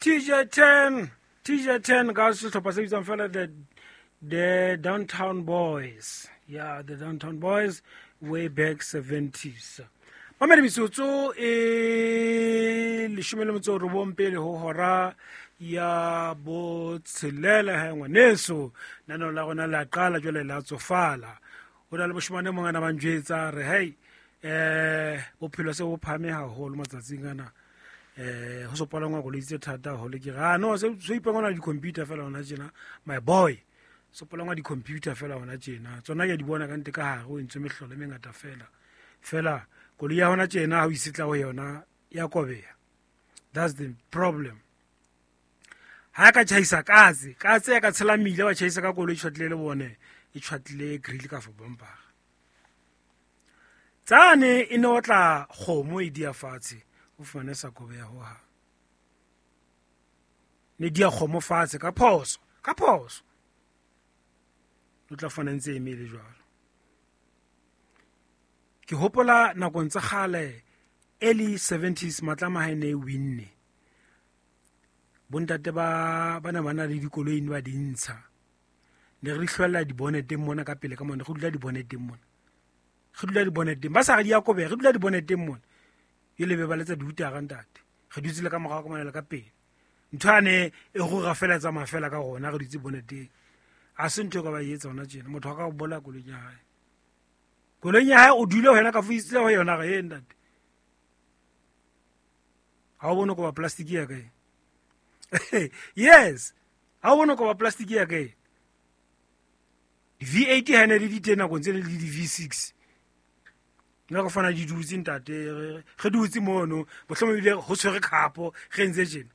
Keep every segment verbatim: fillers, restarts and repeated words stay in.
T J ten, T J ten ka sehlopha se bitswang fela the, the Downtown Boys. Yeah, the Downtown Boys way back seventies. Mamedi metsotso e leshome le metso robong pele ho hora ya botshelela ha ngwaneso. Nano la rona la qala jwale la tsofala. Ho na le moshemane mong ana ba njwetsa re hey, eh bophelo se bo phahame haholo matsatsing ana. Eh ho so palangwa koloi tse thata haholo. Ke re, ah, no, se so ipangwa di-computer fela hona tjena, my boy. So palangwa di-computer fela hona tjena. Tsona ke a di bona ka ntle ka hare ho entswe mehlolo e mengata fela. Fela koloi ya hona tjena ha o isetla ho yona ya kobeha. That's the problem. Ha ka tjhaisa katse, katse ya ka tshela mmila wa tjhaisa ka koloi e tjhwatlile le bone, e tjhwatlile grill ka for bumper. Tsane e ne otla kgomo e dia fatshe, o fumane sa kobeha ho hang. Ne dia kgomo fatshe ka phoso, ka phoso. O tla fana ntse e emele jwalo. Ke hopola nakong tsa kgale, early seventies, Matlama ha e ne e winne. Bontate ba, ba ne ba na le dikoloi ne ba di ntsha. Ne re hlwella diboneteng mona ka pele ka mona, re dula diboneteng mona. Re dula diboneteng, ba sa re di a kobeha, re dula diboneteng mona. Jwale be ba letsa diutara ntate. Re dutse le ka morao ka mona le ka pele. Ntho yane e rura fela e tsamaya fela ka rona, re dutse boneteng. Ha se ntho e ka ba e etsa hona tjena, motho a ka o bolaya koloing ya hae. Koloing ya hae o dule ho yena ka fo isitse ho yona re, he ntate. Ha o bone ko ba plastic ya ka e? Yes. Ha o bone ko ba plastic ya ka e? Di V eight ha ne le di teng nakong tse le di V six. Nna ka fana di dutse ntate, re, re dutse mono, mohlomong ebile ho tshwere khapo, re ntse tjena.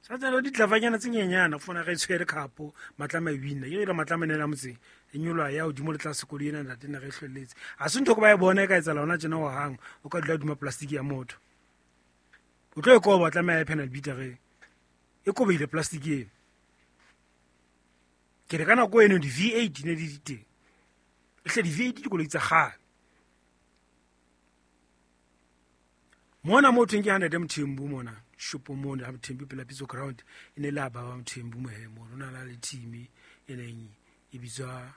Sa tsena di tlavanyana tse nyenyana, fona re tshwere khapo, Matlama e wina. E re Matlama ne la motseng, e nyoloha ya hodimo le tlase koloi ena ntate ne re hlwelletse. Ha se ntho ko ba e bona e ka etsahala hona tjena ho hang, o ka dula hodima plastic ya motho. O tlo e koba, tlameha e panel beater e. E kobehile plastic eno. Ke re ka nako eno di V eight ne di di teng. Ehle di V eight dikoloi tsa kgale. Mona mo thweng ke hundred Mthembu mona, shopo mona, ha Mthembu pela Pitso Ground, e ne le ha baba Mthembu mohe mono. O na le team e neng e bitswa,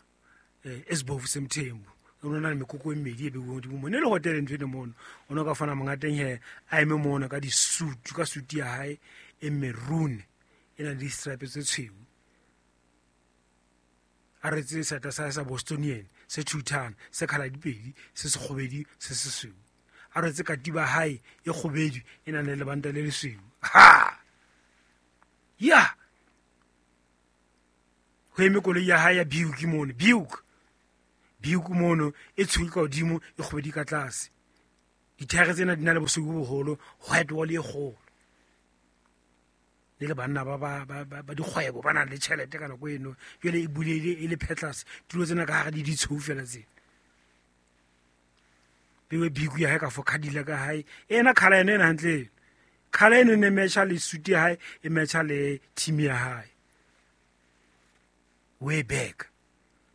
eh, Esbovu se Mthembu. O na le mekoko e mmedi e beuweng hodimo mona. E le hotel ntho eno mono. O no ka fana mongateng he, a eme mona ka di-suit, ka suit ya hae e maroon, e nang le di-stripe tse tshweu. A retse seeta sa hae sa Bostonian, se thuthana, se khala dipedi, se sekgobedi, se sesweu. A retse katiba hae e kgobedu, e nang le lebanta le lesweu. Ha! Ya! Ho eme koloi ya hae ya Buick mono, Buick. Buick mono, e tshweu ka hodimo, e kgobedi ka tlase. Dithaere tsena di na le bosweu bo boholo, white wall e kgolo. Le le banna ba, ba, ba, ba, ba dikgwebo ba nang le tjhelete ka nako eno. Jwale e bulehile e le phetlase, tulo tsena ka hare di ditshweu fela tsena. Bewe Buick ya hae ka fo Cadillac ka hae. Ena colour ena ena hantle eno. Colour eno e ne matcha le suit ya hae, e matcha le team ya hae. Way back.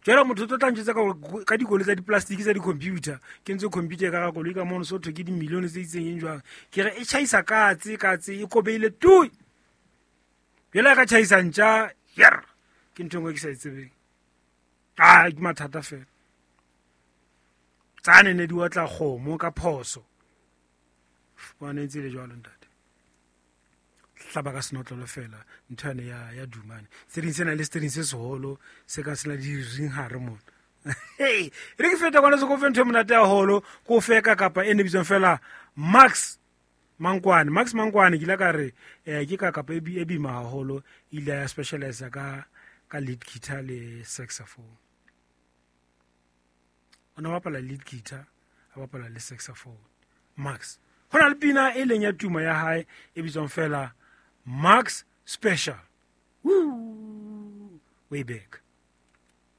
Jwale motho o tlo tla ntjwetsa ka hore ka dikoloi tsa di-plastic tsa di-computer, ke ntse computer ka hara koloi ka mono, so thwe ke di-million tse itseng eng jwang. Ke re e tjhaisa katse, katse e kobehile tui. Jwale ha ka tjhaisa ntja, yer, ke ntho e nngwe ke sa e tsebeng. Ah, ke mathata fela. Tsane ne di otla kgomo ka phoso. Fumane ntse le jwalo ntate. Hlaba ka senotlolo fela, ntho yane ya, ya dumane. Se ding sena le se ding se seholo, se ka sena di ring hare mona. Hey, re ke feta kwana se ko fe ntho e monate haholo, ko fe ka kapa e ne bitswang fela Max Mankwane. Max Mankwane ke ile ka re, eh, ke ka kapa e bi-, e bima haholo, ile ya specialize ka, ka lead guitar le saxophone. O ne a bapala lead guitar, a bapala le saxophone. Max. Ho na le pina e leng ya tumo ya hae e bitswang fela Max Special. Woo! Way back.